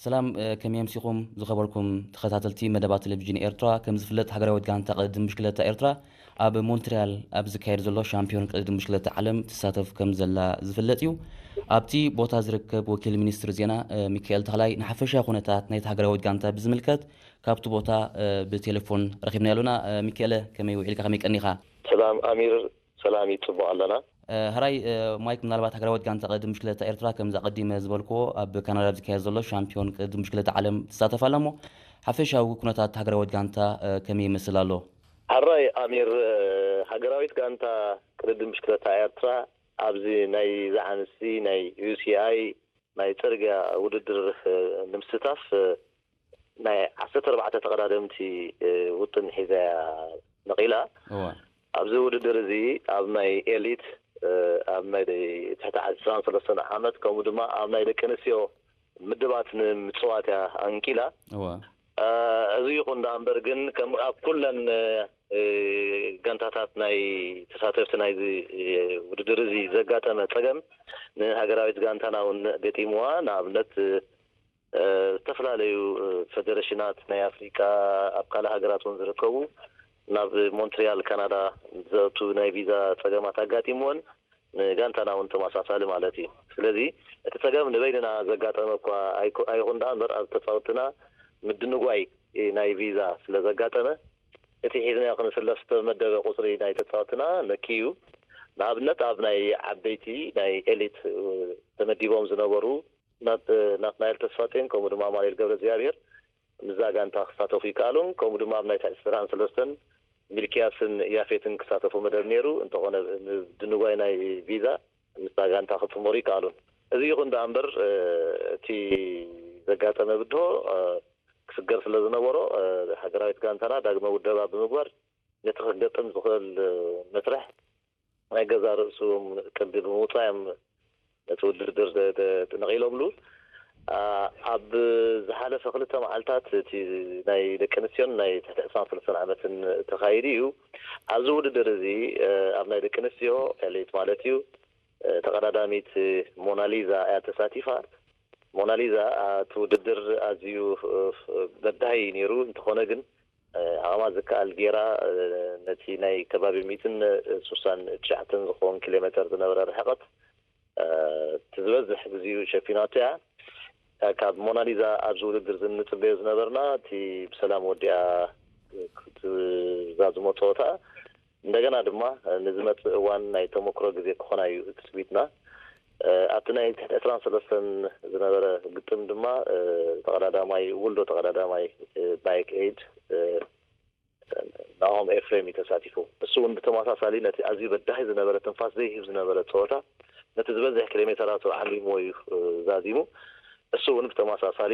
ሰላም፣ እ፣ ከመይ ኣምሲኹም ዝኸበርኩም ተኸታተልቲ መደባት ቴሌቪዥን ኤርትራ? ከም ዝፍለጥ ሃገራዊት ጋንታ ቅድድም ብሽክለታ ኤርትራ ኣብ ሞንትሪያል ኣብ ዝካየድ ዘሎ ሻምፒዮን ቅድድም ብሽክለታ ዓለም ትሳተፍ ከም ዘላ ዝፍለጥ እዩ። ኣብቲ ቦታ ዝርከብ ወኪል ሚኒስትሪ ዜና፣ እ፣ ሚካኤል ተኽላይ ንሓፈሻ ኩነታት ናይቲ ሃገራዊት ጋንታ ብዝምልከት ካብቲ ቦታ፣ እ፣ ብቴሌፎን ረኺብና ኣለና። እ፣ ሚካኤለ፣ ከመይ ውዒልካ? ከመይ ቀኒኻ? ሰላም ኣሚር፣ ሰላም እዩ፣ ጽቡቕ ኣለና። እ፣ ሕራይ፣ እ፣ ማይክ፣ ምናልባት ሃገራዊት ጋንታ ቅድድም ብሽክለታ ኤርትራ፣ ከምዚ ኣቐዲመ ዝበልክዎ፣ ኣብ ካናዳ ኣብ ዝካየድ ዘሎ ሻምፒዮን ቅድድም ብሽክለታ ዓለም ትሳተፍ ኣላ እሞ፣ ሓፈሻዊ ኩነታት ሃገራዊት ጋንታ፣ እ፣ ከመይ ይመስል ኣሎ? ሕራይ ኣሚር፣ እ፣ ሃገራዊት ጋንታ ቅድድም ብሽክለታ ኤርትራ ኣብዚ ናይ ዝዓንሲ ናይ ዩ ሲ ኣይ ናይ ጽርግያ ውድድር፣ እ፣ ንምስታፍ፣ እ፣ ናይ ዓሰርተ ኣርባዕተ ተቐዳደምቲ፣ እ፣ ውጥን ሒዛ እያ ነቒላ። እዋ። ኣብዚ ውድድር እዚ ኣብ ናይ ኤሊት፣ እ፣ ኣብ ናይ ትሕቲ ዕስራን ሰለስተን ዓመት፣ ከምኡ ድማ ኣብ ናይ ደቂ ኣንስትዮ ምድባት ንምጽዋት እያ ኣንቂላ። እዋ። እ፣ እዚ ይኹን ደኣ እምበር ግን ከም ኣብ ኩለን፣ እ፣ ጋንታታት ናይ ተሳተፍቲ ናይዚ፣ እ፣ ውድድር እዚ ዘጋጠመ ጸገም ንሃገራዊት ጋንታና እውን ገጢምዋ። ንኣብነት፣ እ፣ እ፣ ዝተፈላለዩ፣ እ፣ ፈደረሽናት ናይ ኣፍሪቃ ኣብ ካልእ ሃገራት እውን ዝርከቡ ናብ ሞንትሪያል ካናዳ ዘእቱ ናይ ቪዛ ጸገማት ኣጋጢምወን፣ ንጋንታና እውን ተመሳሳሊ ማለት እዩ። ስለዚ እቲ ጸገም ንበይንና ዘጋጠመ እኳ ኣይኮ-፣ ኣይኹን ደኣ እምበር ኣብ ተጻወትና ምድንጓይ ናይ ቪዛ ስለ ዘጋጠመ እቲ ሒዝናዮ ክንስለፍ ዝተመደበ ቁጽሪ ናይ ተጻወትና ነኪዩ። ንኣብነት ኣብ ናይ ዓበይቲ ናይ ኤሊት፣ እ፣ ተመዲቦም ዝነበሩ ናት-፣ ናትናኤል ተስፋጼን ከምኡ ድማ ኣማኑኤል ገብረ እግዚኣብሔር ምስዛ ጋንታ ክሳተፉ ይከኣሉን፣ ከምኡ ድማ ኣብ ናይ ትሕቲ ዕስራን ሰለስተን ሚልክያስን ያፌትን ክሳተፉ መደብ ነይሩ። እንተኾነ፣ ምድንጓይ ናይ ቪዛ ምስዛ ጋንታ ክጽንበሩ ይከኣሉን። እዚ ይኹን ደኣ እምበር፣ እ፣ እቲ ዘጋጠመ ብድሆ፣ እ፣ ክስገር ስለ ዝነበሮ፣ እ፣ ሃገራዊት ጋንታና ዳግመ ውደባ ብምግባር ነቲ ክገጥም ዝኽእል፣ እ፣ መስርሕ ናይ ገዛእ ርእሱ ቅዲ ብምውጻእ እዮም ነቲ ውድድር ደ-፣ ደ-፣ ነቒሎምሉ። ኣ-፣ ኣብ ዝሓለፈ ክልተ መዓልታት እቲ ናይ ደቂ ኣንስትዮን ናይ ትሕቲ ዕስራን ሰለስተን ዓመትን ተኻይዱ እዩ። ኣብዚ ውድድር እዚ፣ እ፣ ኣብ ናይ ደቂ ኣንስትዮ ኤሊት ማለት እዩ፣ እ፣ ተቐዳዳሚት ሞናሊዛ እያ ተሳቲፋ። ሞናሊዛ፣ ኣ፣ እቲ ውድድር ኣዝዩ፣ እ፣ በዳሂ ነይሩ። እንተኾነ ግን፣ እ፣ ዓቕማ ዝከኣል ጌራ፣ እ፣ ነቲ ናይ ከባቢ ሚእትን ስሳን ትሽዓተን ዝኸውን ኪሎ ሜተር ዝነበረ ርሕቐት፣ እ፣ እቲ ዝበዝሕ ግዜኡ ሸፊናቶ እያ። እ፣ ካብ ሞናሊዛ ኣብዚ ውድድር እዚ እንጽበዮ ዝነበርና፣ እቲ ብሰላም ወዲኣ ክትዛዝሞ ጸወታ፣ እንደገና ድማ ንዝመጽእ እዋን ናይ ተመክሮ ግዜ ክኾና እዩ ትጽቢትና። እ፣ ኣብቲ ናይ ትሕቲ ዕስራን ሰለስተን ዝነበረ ግጥም ድማ፣ እ፣ ተቐዳዳማይ፣ ውልዶ ተቐዳዳማይ፣ እ፣ ባይክ ኤድ፣ እ፣ ናሆም ኤፍሬም እዩ ተሳቲፉ። እሱ እውን ብተመሳሳሊ ነቲ ኣዝዩ በዳሂ ዝነበረ፣ ትንፋስ ዘይህብ ዝነበረ ጸወታ፣ ነቲ ዝበዝሕ ኪሎ ሜተራቱ ዓሊምዎ እዩ፣ እ፣ ዛዚሙ። እሱ እውን ብተመሳሳሊ